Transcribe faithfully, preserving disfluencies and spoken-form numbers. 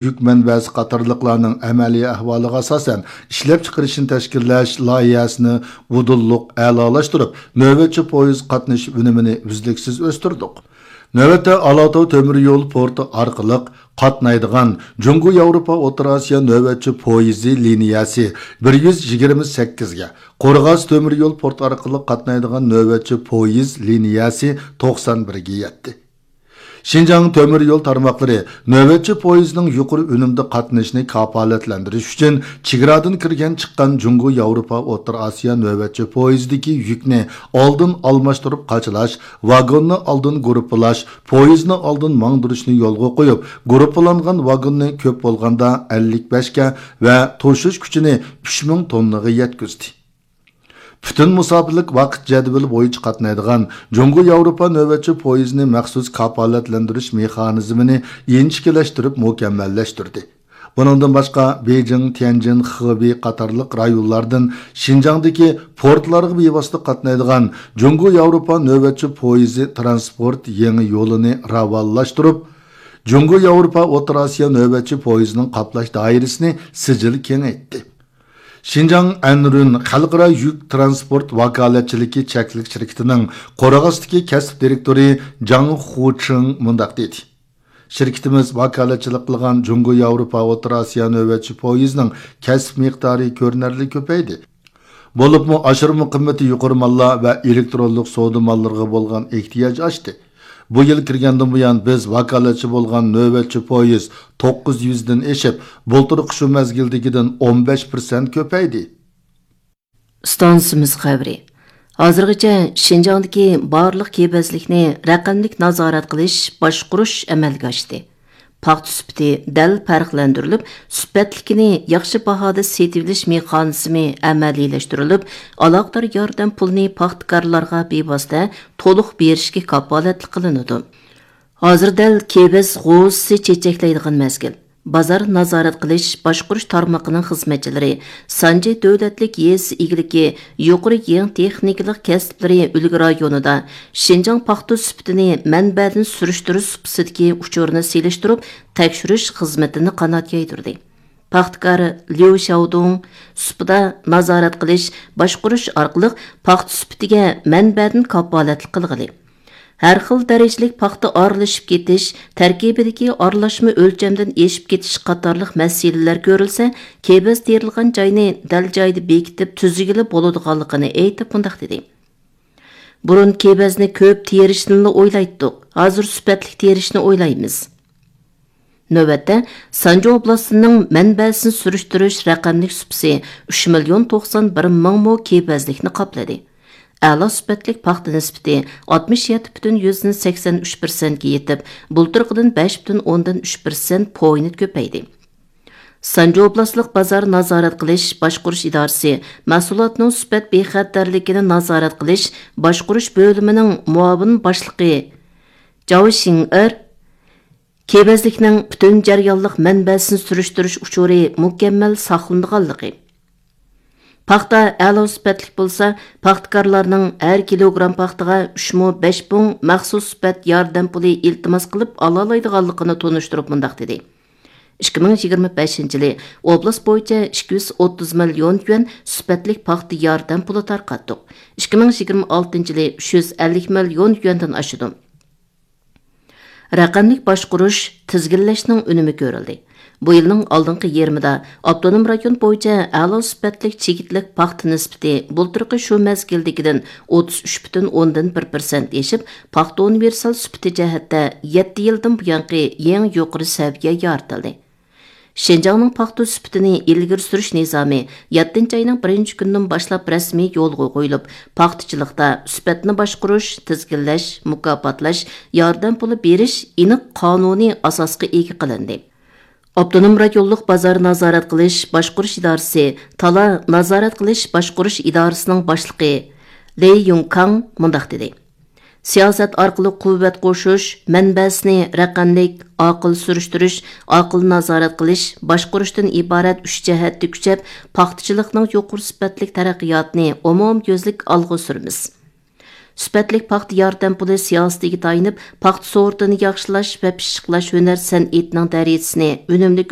يۈك مەنبەسى قاتارلىقلارنىڭ ئەمەلىي ئەھۋالىغا ئاساسەن، ئىشلەپچىقىرىشنى تەشكىللەش لايىھەسىنى ئۇدۇللۇق ئەلالاشتۇرۇپ، نۆۋەتچى پويىز قاتنىشى ئۈنۈمىنى ئۈزلۈكسىز ئۆستۈردۇق. نۆۋەتتە ئالاتاۋ تۆمۈر يول پورتى ئارقىلىق قاتنايدىغان جۇڭگو ياۋروپا ئوتتۇرا ئاسىيا نۆۋەتچى پويىزى لىنىيەسى بىر يۈز يىگىرمە سەككىزگە، قورغاس تۆمۈر يول پورتى ئارقىلىق قاتنايدىغان نۆۋەتچى پويىز لىنىيەسى توقسان بىرگە يەتتى. شىنجاڭ تۆمۈر يول تارماقلىرى نۆۋەتچى پويىزنىڭ يۇقىرى ئۈنۈمدە قاتنىشىنى كاپالەتلەندۈرۈش ئۈچۈن، چېگرادىن كىرگەن چىققان جۇڭگو ياۋروپا ئوتتۇرا ئاسىيا نۆۋەتچى پويىزىدىكى يۈكنى ئالدىن ئالماشتۇرۇپ قاچىلاش، ۋاگوننى ئالدىن گۇرۇپپىلاش، پويىزنى ئالدىن ماڭدۇرۇشنى يولغا قويۇپ، گۇرۇپپىلانغان ۋاگوننى كۆپ بولغاندا ئەللىك بەشكە ۋە توشۇش كۈچىنى ئۈچ مىڭ توننىغا يەتكۈزدى. پۈتۈن مۇساپىلىك ۋاقىت جەدۋىلى بويىچە قاتنايدىغان جۇڭگو ياۋروپا نۆۋەتچى پويىزىنى مەخسۇس كاپالەتلەندۈرۈش مېخانىزمىنى ئىنچىكىلەشتۈرۈپ مۇكەممەللەشتۈردى. بۇنىڭدىن باشقا، بېيجىڭ، تيەنجىن، خېبېي قاتارلىق رايونلاردىن شىنجاڭدىكى پورتلارغا بىۋاسىتە قاتنايدىغان جۇڭگو ياۋروپا نۆۋەتچى پويىزى تىرانسپورت يېڭى يولىنى راۋانلاشتۇرۇپ، جۇڭگو ياۋروپا ئوتتۇرا ئاسىيا نۆۋەتچى پويىزىنىڭ قاپلاش دائىرىسىنى سىجىل كېڭەيتتى. شىنجاڭ ئەنرۈن خەلقئارا يۈك تىرانسپورت ۋاكالەتچىلىكى چەكلىك شىركىتىنىڭ قورغاستىكى كەسىپ دىرېكتورى جاڭ خۇچىڭ مۇنداق دېدى: شىركىتىمىز ۋاكالەتچىلىك قىلغان جۇڭگو ياۋروپا ئوتتۇرا ئاسىيا نۆۋەتچى پويىزىنىڭ كەسىپ مىقدارى كۆرۈنەرلىك كۆپەيدى. بولۇپمۇ ئاشۇرما قىممىتى يۇقىرى ماللار ۋە ئېلېكترونلۇق سودا ماللىرىغا بولغان ئېھتىياج ئاشتى. بۇ يىل كىرگەندىن بۇيان، بىز ۋاكالەتچى بولغان نۆۋەتچى پويىز توققۇز يۈزدىن ئېشىپ، بۇلتۇرقى شۇ مەزگىلدىكىدىن ئون بەش پىرسەنت كۆپەيدى. ئىستانسىمىز خەۋىرى. ھازىرغىچە شىنجاڭدىكى بارلىق كېبەزلىكنى رەقەملىك نازارەت قىلىش، باشقۇرۇش ئەمەلگە ئاشتى. پاختا سۈپىتى دەل پەرقلەندۈرۈلۈپ، سۈپەتلىكىنى ياخشى باھادا سېتىۋېلىش مېخانىزمى ئەمەلىيلەشتۈرۈلۈپ، ئالاقىدار ياردەم پۇلىنى پاختىكارلارغا بىۋاسىتە تولۇق بېرىشكە كاپالەتلىك قىلىنىدۇ. ھازىر دەل كېۋەز غوزىسى چېچەكلەيدىغان مەزگىل. بازار نازارەت قىلىش، باشقۇرۇش تارمىقىنىڭ خىزمەتچىلىرى سانجى دۆلەتلىك يېزا ئىگىلىكى يۇقىرى يېڭى تېخنىكىلىق كەسىپلىرى ئۈلگە رايونىدا شىنجاڭ پاختا سۈپىتىنى مەنبەدىن سۈرۈشتۈرۈش سۇپىسىدىكى ئۇچۇرنى سېلىشتۇرۇپ، تەكشۈرۈش خىزمىتىنى قانات يايدۇردى. پاختىكار ليۇ شياۋدۇڭ سۇپىدا نازارەت قىلىش، باشقۇرۇش ئارقىلىق پاختا سۈپىتىگە مەنبەدىن كاپالەتلىك قىلغىلى، ھەر خىل دەرىجىلىك پاختا ئارىلىشىپ كېتىش، تەركىبىدىكى ئارىلاشما ئۆلچەمدىن ئېشىپ كېتىش قاتارلىق مەسىلىلەر كۆرۈلسە، كېۋەز تېرىلغان جاينى دەل جايىدا بېكىتىپ تۈزگىلى بولىدىغانلىقىنى ئېيتىپ مۇنداق دېدى: بۇرۇن كېۋەزنى كۆپ تېرىشنىلا ئويلايتتۇق، ھازىر سۈپەتلىك تېرىشنى ئويلايمىز. نۆۋەتتە، سانجى ئوبلاستىنىڭ مەنبەسىنى سۈرۈشتۈرۈش رەقەملىك سۇپىسى ئۈچ مىليون توقسان بىر مىڭ مو كېۋەزلىكنى قاپلىدى. ئەلا سۈپەتلىك پاختا نىسبىتى ئاتمىش يەتتە پۈتۈن يۈزدىن سەكسەن ئۈچ پىرسەنتكە يېتىپ، بۇلتۇرقىدىن بەش پۈتۈن ئوندىن ئۈچ پىرسەنت پوينت كۆپەيدى. سانجى ئوبلاستلىق بازار نازارەت قىلىش باشقۇرۇش ئىدارىسى مەھسۇلاتنىڭ سۈپەت بىخەتەرلىكىنى نازارەت قىلىش باشقۇرۇش بۆلۈمىنىڭ مۇئاۋىن باشلىقى جاۋ شىڭئېر كېۋەزلىكنىڭ پۈتۈن جەريانلىق مەنبەسىنى سۈرۈشتۈرۈش ئۇچۇرى مۇكەممەل ساقلىنىدىغانلىقى، پاختا ئەلا سۈپەتلىك بولسا، پاختىكارلارنىڭ ھەر كىلوگرام پاختىغا ئۈچ مو، بەش پۇڭ مەخسۇس سۈپەت ياردەم پۇلى ئىلتىماس قىلىپ ئالالايدىغانلىقىنى تونۇشتۇرۇپ مۇنداق دېدى: ئىككى مىڭ يىگىرمە بەشىنچى يىلى ئوبلاست بويىچە ئىككى يۈز ئوتتۇز مىليون يۈەن سۈپەتلىك پاختا ياردەم پۇلى تارقاتتۇق. ئىككى مىڭ يىگىرمە ئالتىنچى يىلى ئۈچ يۈز ئەللىك مىليون يۈەندىن ئاشىدۇ. رەقەملىك باشقۇرۇش، تىزگىنلەشنىڭ ئۈنۈمى كۆرۈلدى. بۇ يىلنىڭ ئالدىنقى يېرىمىدا ئاپتونوم رايون بويىچە ئەلا سۈپەتلىك چىگىتلىك پاختا نىسبىتى بۇلتۇرقى شۇ مەزگىلدىكىدىن ئوتتۇز ئۈچ پۈتۈن ئوندىن بىر پىرسەنت ئېشىپ، پاختا ئۇنىۋېرسال سۈپىتى جەھەتتە يەتتە يىلدىن بۇيانقى يېڭى يۇقىرى سەۋىيە يارىتىلدى. شىنجاڭنىڭ پاختا سۈپىتىنى ئىلگىرى سۈرۈش نىزامى يەتتىنچى ئاينىڭ بىرىنچى كۈنىدىن باشلاپ رەسمىي يولغا قويۇلۇپ، پاختىچىلىقتا سۈپەتنى باشقۇرۇش، تىزگىنلەش، مۇكاپاتلاش، ياردەم پۇلى بېرىش ئېنىق قانۇنىي ئاساسقا ئىگە قىلىندى. ئاپتونوم رايونلۇق بازار نازارەت قىلىش باشقۇرۇش ئىدارىسى تالا نازارەت قىلىش باشقۇرۇش ئىدارىسىنىڭ باشلىقى لېي يۇڭكاڭ مۇنداق دېدى: سىياسەت ئارقىلىق قۇۋۋەت قوشۇش، مەنبەسىنى رەقەملىك، ئاقىل سۈرۈشتۈرۈش، ئاقىل نازارەت قىلىش، باشقۇرۇشتىن ئىبارەت ئۈچ جەھەتتە كۈچەپ، پاختىچىلىقنىڭ يۇقىرى سۈپەتلىك تەرەققىياتىنى ئومۇميۈزلۈك ئالغا سۈرىمىز. سۈپەتلىك پاختا ياردەم پۇلى سىياسىتىگە تايىنىپ، پاختا سورتىنى ياخشىلاش ۋە پىششىقلاش ھۈنەر سەنئىتىنىڭ دەرىجىسىنى، ئۈنۈملۈك